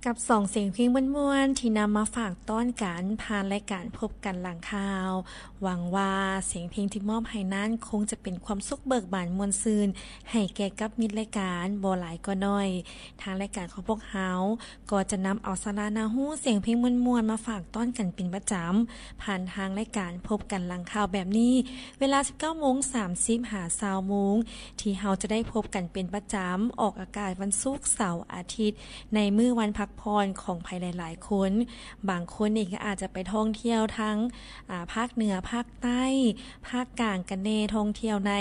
ກັບສອງສຽງເພງມ່ວນໆ ທີ່ນຳມາຝາກຕ້ອນກັນ ຜ່ານລາຍການພົບກັນຫຼັງຂ່າວ. ຫວັງວ່າສຽງເພງທີ່ມອບໃຫ້ນັ້ນ ຄົງຈະເປັນຄວາມສຸກເບີກບານມ່ວນຊື່ນ ໃຫ້ແກ່ກັບມິດລາຍການ ບໍ່ຫຼາຍກໍໜ້ອຍ. ທາງລາຍການຂອງພວກເຮົາ ກໍຈະນຳເອົາສາລະໜ້າຮູ້ ສຽງເພງມ່ວນໆ ມາຝາກຕ້ອນກັນເປັນປະຈຳ ຜ່ານທາງລາຍການພົບກັນຫຼັງຂ່າວແບບນີ້ ເວລາສິບເກົ້າໂມງສາມສິບ ຫາຊາວໂມງ ທີ່ເຮົາຈະໄດ້ພົບກັນເປັນປະຈຳ ອອກອາກາດວັນສຸກ, ເສົາ, ອາທິດ ໃນມື້ວັນພັກຜ່ອນຂອງໃຜຫຼາຍໆຄົນ. ບາງຄົນນີ້ກໍອາດຈະໄປທ່ອງທ່ຽວທາງ ອາ ພາກເໜືອ, ພາກໃຕ້, ພາກກາງກັນແດ່, ທ່ອງທ່ຽວໃນ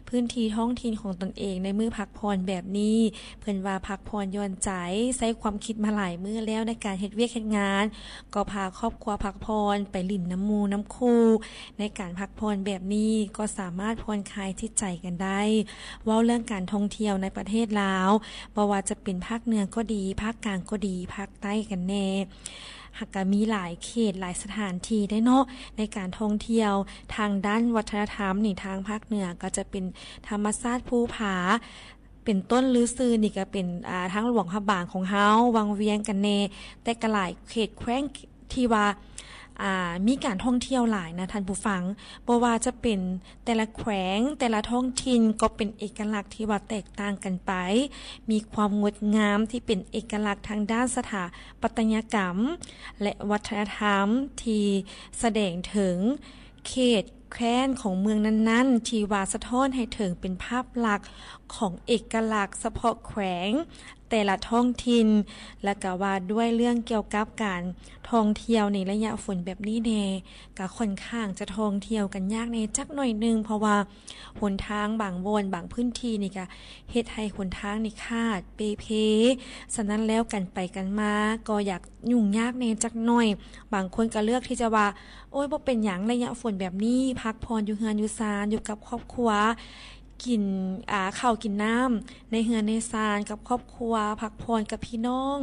ພື້ນທີ່ທ້ອງຖິ່ນຂອງຕົນເອງໃນມື້ພັກຜ່ອນແບບນີ້. ເພິ່ນວ່າພັກຜ່ອນຢ່ອນໃຈ, ໃຊ້ຄວາມຄິດມາຫຼາຍມື້ແລ້ວໃນການເຮັດວຽກເຮັດງານ, ກໍພາຄອບຄົວພັກຜ່ອນ, ໄປຫຼິ້ນນຳໝູ່ນຳຄູ່. ໃນການພັກຜ່ອນແບບນີ້ ກໍສາມາດຜ່ອນຄາຍຈິດໃຈກັນໄດ້. ເວົ້າເລື່ອງການທ່ອງທ່ຽວໃນປະເທດລາວ, ບໍ່ວ່າຈະເປັນພາກເໜືອກໍດີ, ພາກກາງກໍດີ, ພາກໃຕ້ກັນແດ່, ຫາກກະມີຫຼາຍເຂດ, ຫຼາຍສະຖານທີ່ເດ້ເນາະ ໃນການທ່ອງທ່ຽວ. ທາງດ້ານວັດທະນະທຳນີ້, ທາງພາກເໜືອກໍຈະເປັນທຳມະຊາດພູຜາ ເປັນຕົ້ນລືຊື່ນີ້ກໍເປັນ ອາ ທາງຫຼວງພະບາງຂອງເຮົາ, ວັງວຽງກັນແດ່, ແຕ່ກໍຫຼາຍເຂດແຂວງທີ່ວ່າ ອາ ມີການທ່ອງທ່ຽວຫຼາຍນະທ່ານຜູ້ຟັງ. ບໍ່ວ່າຈະເປັນແຕ່ລະແຂວງ, ແຕ່ລະທ້ອງຖິ່ນກໍເປັນເອກະລັກທີ່ວ່າແຕກຕ່າງກັນໄປ, ມີຄວາມງົດງາມທີ່ເປັນເອກະລັກທາງດ້ານສະຖາປັດຕະຍະກຳ ແລະ ວັດທະນະທຳທີ່ສະແດງເຖິງ ເຂດແຄວ້ນຂອງເມືອງນັ້ນໆ ທີ່ວ່າສະທ້ອນໃຫ້ເຖິງເປັນພາບລັກຂອງເອກະລັກສະເພາະແຂວງແຕ່ລະທ້ອງຖິ່ນ, ແລະ ກະວ່າດ້ວຍເລື່ອງກ່ຽວກັບການທ່ອງທ່ຽວໃນໄລຍະຝົນແບບນີ້ແດ່, ກະຂ້ອນຂ້າງຈະທ່ອງທ່ຽວກັນຍາກແດ່ຈັກໜ້ອຍໜຶ່ງ, ເພາະວ່າຫົນທາງບາງບ່ອນ, ບາງພື້ນທີ່ນີ້ກະເຮັດໃຫ້ຫົນທາງນີ້ຂາດ, ເປ່ເພ. ສະນັ້ນແລ້ວ ການໄປກັນມາກໍຢາກຫຍຸ້ງຍາກແດ່ຈັກໜ້ອຍ. ບາງຄົນກໍເລືອກທີ່ຈະວ່າ ໂອ້ຍ ບໍ່ເປັນຫຍັງ ໄລຍະຝົນແບບນີ້ ພັກຜ່ອນຢູ່ເຮືອນຢູ່ຊານ ຢູ່ກັບຄອບຄົວ ກິນ ອາ ເຂົ້າກິນນ້ຳໃນເຮືອນໃນຊານກັບຄອບຄົວ, ພັກຜ່ອນກັບພີ່ນ້ອງ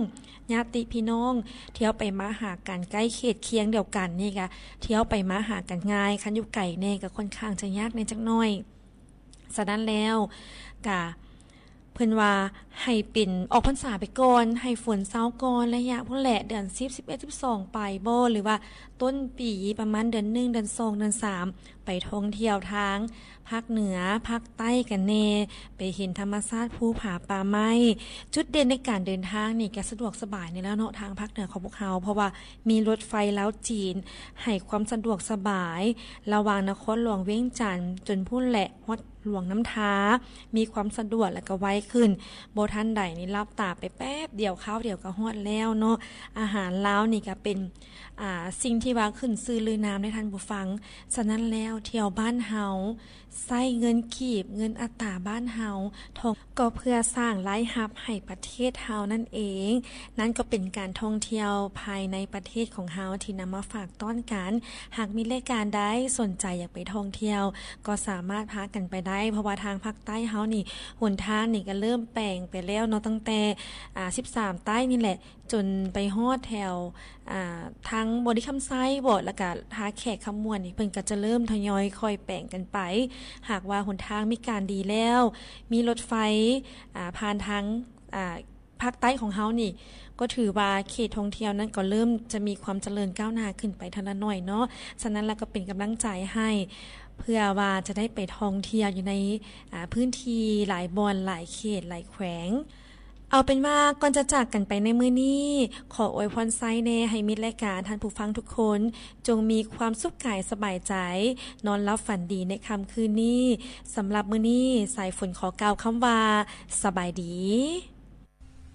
ຍາດຕິພີ່ນ້ອງ, ທ່ຽວໄປມາຫາກັນໃກ້ເຂດຄຽງດຽວກັນນີ້ກະ ທ່ຽວໄປມາຫາກັນງ່າຍ, ຄັນຢູ່ໄກແດ່ກໍຂ້ອນຂ້າງຈະຍາກແດ່ຈັກໜ້ອຍ. ສະນັ້ນແລ້ວກະ ເພິ່ນວ່າໃຫ້ເປັນອອກພັນສາໄປກ່ອນ, ໃຫ້ຝົນເຊົາກ່ອນ ໄລຍະພຸ້ນແຫຼະ ເດືອນສິບ ສິບເອັດ ສິບສອງ ໄປບໍ ຫຼືວ່າຕົ້ນປີປະມານເດືອນໜຶ່ງ ເດືອນສອງ ເດືອນສາມ ໄປທ່ອງທ່ຽວທາງພາກເໜືອ, ພາກໃຕ້ກັນແດ່, ໄປເຫັນທຳມະຊາດພູຜາປ່າໄມ້. ຈຸດເດັ່ນໃນການເດີນທາງນີ້ກະສະດວກສະບາຍນີ້ແຫຼະເນາະ ທາງພາກເໜືອຂອງພວກເຮົາ, ເພາະວ່າມີລົດໄຟລາວຈີນໃຫ້ຄວາມສະດວກສະບາຍ ລະຫວ່າງນະຄອນຫຼວງວຽງຈັນຈົນພຸ້ນແຫຼະ ຮອດ ຫຼວງນ້ຳທາ ມີຄວາມສະດວກ ແລະ ກະໄວຂຶ້ນ. ບໍ່ທັນໃດນີ້ ຫຼັບຕາໄປແປັບດຽວ ຄາວດຽວກະຮອດແລ້ວເນາະ. ອາຫານລາວນີ້ກະເປັນ ອາ ສິ່ງທີ່ວ່າຂຶ້ນຊື່ລືນາມໃດທ່ານຜູ້ຟັງ. ສະນັ້ນແລ້ວ ທ່ຽວບ້ານເຮົາ ໃຊ້ເງິນກີບ, ເງິນອັດຕາບ້ານເຮົາ, ທ່ອງ ກໍເພື່ອສ້າງລາຍຮັບໃຫ້ປະເທດເຮົານັ້ນເອງ. ນັ້ນກໍເປັນການທ່ອງທ່ຽວພາຍໃນປະເທດຂອງເຮົາທີ່ນຳມາຝາກຕ້ອນກັນ. ຫາກມີລາຍການໃດສົນໃຈຢາກໄປທ່ອງທ່ຽວ ກໍສາມາດພາກັນໄປໄດ້, ເພາະວ່າທາງພາກໃຕ້ເຮົານີ້ ຫົນທາງນີ້ກໍເລີ່ມແປງໄປແລ້ວເນາະ, ຕັ້ງແຕ່ ອາ ສິບສາມໃຕ້ນີ້ແຫຼະ ຈົນໄປຮອດແຖວ ອາ ທາງບໍລິຄຳໄຊບໍ ແລ້ວກະທ່າແຂກຄຳມ່ວນນີ້ ເພິ່ນກໍຈະເລີ່ມທະຍອຍຄ່ອຍແປງກັນໄປ. ຫາກວ່າຫົນທາງມີການດີແລ້ວ ມີລົດໄຟ ອາ ຜ່ານທາງ ອາ ພາກໃຕ້ຂອງເຮົານີ້ ກໍຖືວ່າເຂດທ່ອງທ່ຽວນັ້ນກໍເລີ່ມຈະມີຄວາມຈະເລີນກ້າວໜ້າຂຶ້ນໄປເທື່ອລະໜ້ອຍເນາະ. ສະນັ້ນລະກໍເປັນກຳລັງໃຈໃຫ້ ເພື່ອວ່າຈະໄດ້ໄປທ່ອງທ່ຽວຢູ່ໃນ ອາ ພື້ນທີ່ຫຼາຍບ່ອນ ຫຼາຍເຂດ ຫຼາຍແຂວງ. ເອົາເປັນວ່າກ່ອນຈະຈາກກັນໄປໃນມື້ນີ້ ຂໍອວຍພອນໄຊແດ່ໃຫ້ມິດລາຍການ, ທ່ານຜູ້ຟັງທຸກຄົນ ຈົ່ງມີຄວາມສຸກກາຍສະບາຍໃຈ, ນອນຫຼັບຝັນດີໃນຄ່ຳຄືນນີ້. ສຳລັບມື້ນີ້ ສາຍຝົນຂໍກ່າວຄຳວ່າ ສະບາຍດີ.